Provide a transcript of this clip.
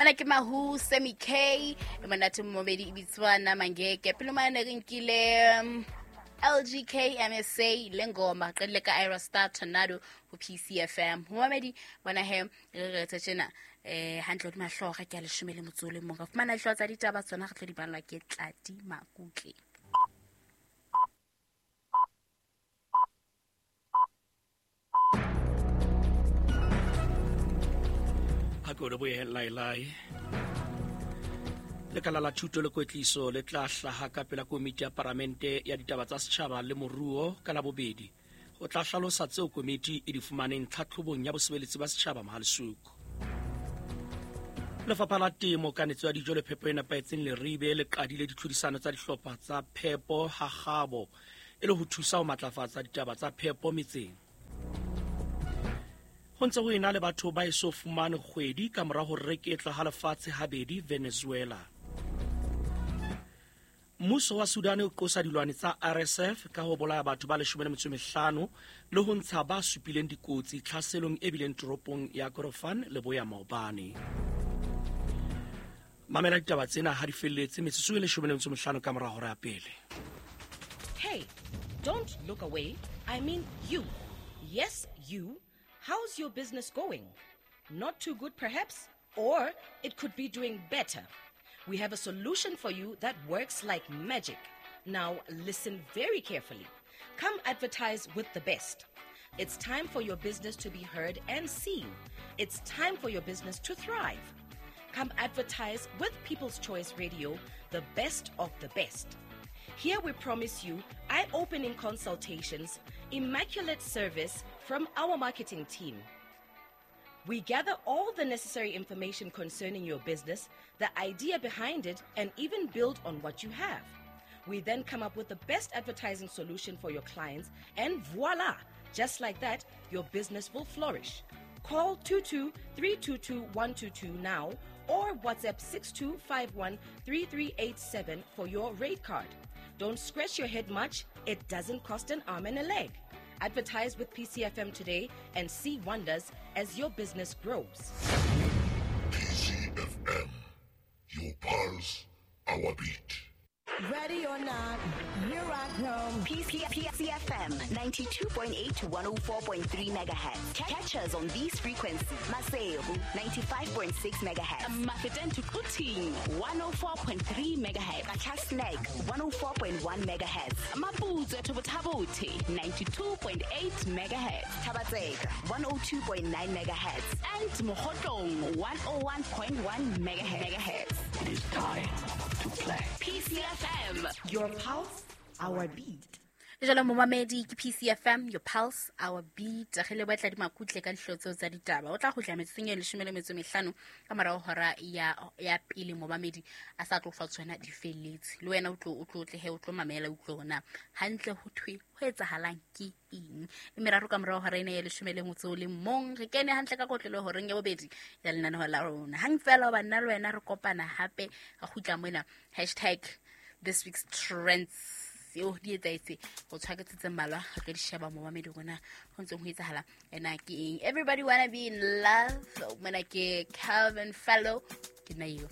Mana ke Mahu Semi K, e monate momedi e bitswa Namangeke. Pele mane re nkile LGK MSA le ngoma qedile ka Ira Star Tornado ho PCFM. Momedi bona he re re tse tjena hantle hodima hlooho ke a 11. Re fumana dihlooho tsa ditaba tsona re tlo di ballwa ke Tladi Makutle. Ha ke o lebohe laelae. Lekala la thuto le kwetliso le tla hlaha ka pela komiti ya paramente ya ditaba tsa setjhaba le moruo ka Labobedi ho tla hlalosa tseo komiti e di fumaneng tlhatlhobong ya bosebeletsi ba setjhaba Mohalesuku. Lefapha la Temo, Kanetso ya Dijo le Phepo e Nepahetseng Leribe le qadile ditlhodisano tsa dihlopha tsa phepo ha kgabo e le ho thusa ho matlafatsa ditaba tsa phepo metseng. Ho ntse ho ena le batho ba eso fumane kgwedi ka mora ho reketla ha lefatshe habedi Venezuela. Mmuso wa Sudan o qosa dilwane tsa RSF ka ho bolaya batho ba 15 le ho ntsha ba supileng dikotsi tlhaselong e bileng toropong ya Kordofan leboya maobane. Mamela ditaba tsena ha di felletse metsotso e 15 ka mora hora ya pele. Hey, don't look away. I mean you. Yes, you. How's your business going? Not too good, perhaps? Or it could be doing better. We have a solution for you that works like magic. Now, listen very carefully. Come advertise with the best. It's time for your business to be heard and seen. It's time for your business to thrive. Come advertise with People's Choice Radio, the best of the best. Here we promise you eye-opening consultations, immaculate service from our marketing team. We gather all the necessary information concerning your business, the idea behind it, and even build on what you have. We then come up with the best advertising solution for your clients, and voila! Just like that, your business will flourish. Call 22-322-122 now or WhatsApp 6251-3387 for your rate card. Don't scratch your head much. It doesn't cost an arm and a leg. Advertise with PCFM today and see wonders as your business grows. PCFM, your pulse, our beat. Ready or not, here I come. PCFM 92.8 to 104.3 megahertz. Catch us on these frequencies. Maseru 95.6 megahertz. Mafeteng to Quthing 104.3 megahertz. Qacha's Nek 104.1 megahertz. Maputswe to Botha-Bothe 92.8 megahertz. Thaba-Tseka 102.9 megahertz. And Mokhotlong 101.1 megahertz. It is time to play. PCFM, your pulse, our beat. Jalo momamedi ke PCFM, your pulse, our beat. Re le batla di makutle ka dihlooho tseo tsa ditaba. O tla kgutla metsotsong e 15 ka morao hora ya pele momamedi a sa tlo fa tsona di felletse. Le wena o tlo tle he o tlo mamela o utlwe hore na hantle ho thwe ho etsahalang ke eng. E meraro ka morao hora ena ya 11 re kene hantle ka kotlelo horeng ya bobedi ya lenaneo la rona. Hang fela ba nna le wena re kopana hape re kgutla mona #thisweekstrends. Eo di etsaetse go tshwaketsetse mmalwa re tlo di sheba momamedi rona ho ntseng ho etsahala ena ke eng. Everybody wanna be in love. Mona ke Calvin Fellow ke nna eo.